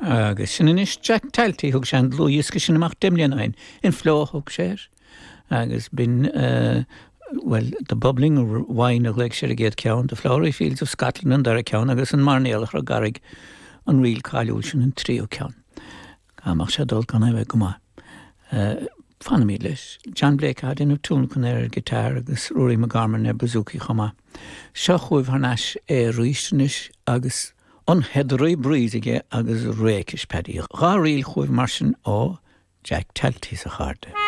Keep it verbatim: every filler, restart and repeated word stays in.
Agus sin anois Jack Talty thug sé an dlúthdhiosca sin amach deich mbliana ó shin. In Flow a thug sé air. Agus b'in uh, well, The Bubbling Wine a ghlaoigh sé ar an gcéad ceann, The Flowery Fields of Scotland an dara ceann agus an Mairnéalach ar an gCarraig an ríl cáiliúil sin an tríú ceann. Amach sé dul gan bheith go maith. Uh, Fanfaimid leis. John Blake ag déanamh tionlacan ar guitar agus Rory McGorman ar bouzouki chomh maith. Seo chugaibh thar n-ais é arís anois agus an Heathery Breeze aige agus Rakish Paddy. Dhá ríl chugaibh mar sin ó Jack Talty a chairde.